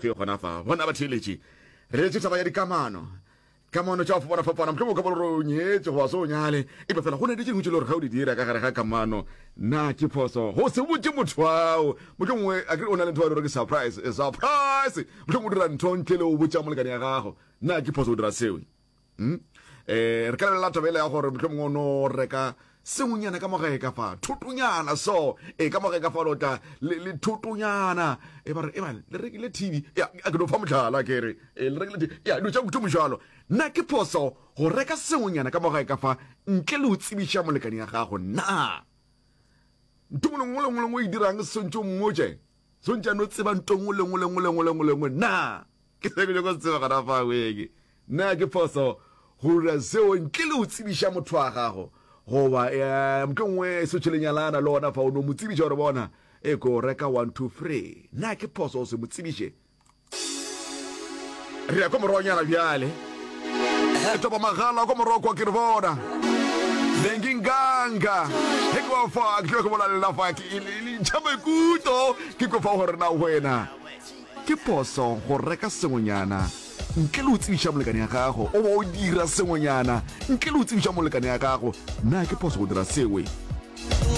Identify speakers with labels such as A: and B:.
A: efe gona fa. Bona batheeletši, re letše taba ya dikamano. Kamano tša go fapana-fapana, mohlomongwe o ka ba le gore o nyetše goba se o nyale, eupša fela go na le tše dingwe tše le gore ga o di dira ka gare ga kamano, na ke phoso go se botše motho ao? Mohlomongwe a kere o na le ntho ba e le gore ke surprise, eh, surprise! Mohlomongwe o dira ntho ntle le go botša molekane ya gago, na ke phoso go dira seo? Hmm? Eh, re ka lebelela taba ele ya gore mohlomongwe o no reka sengwenyana ka mogae ka fa thotonyana so e ka mogae ka fa lo tla le, le thotonyana e ba re e bane le rekile tv ya a ke no fa mohlala ke re e le rekile tv ya dilo tša kutumo jalo na ke phoso go reka sengwenyana ka mogae ka fa ntle le go tsebiša molekane ya gago na ntho ngwe le ngwe le ngwe le ngwe e dirang swantše o mmotše swantše a no tseba nto ngwe le ngwe le ngwe le ngwe le ngwe le ngwe na ke se ke nyako se tseba gona fa weke Na ke phoso go dira seo ntle le go tsebiša motho wa gago? Goba eh, mohlomongwe se tšhele nyalana le gona fa o no mo tsebiša gore bona e ko reka 1 2 3. Na ke phoso go se mo tsebiše? Re ya ko morogonyana bjale. Re topa magala ko morago kwa ke re bona. Lenginganga. He ke wa fa ke tlo ke bola le la fa ke le ntšha maikutlo ke ko fa gore na wena Ke phoso go reka sengwenyana ntle le go tsebiša molekane ya gago, goba o dira sengwenyana ntle le go tsebiša molekane ya gago. Na ke phoso go dira seo?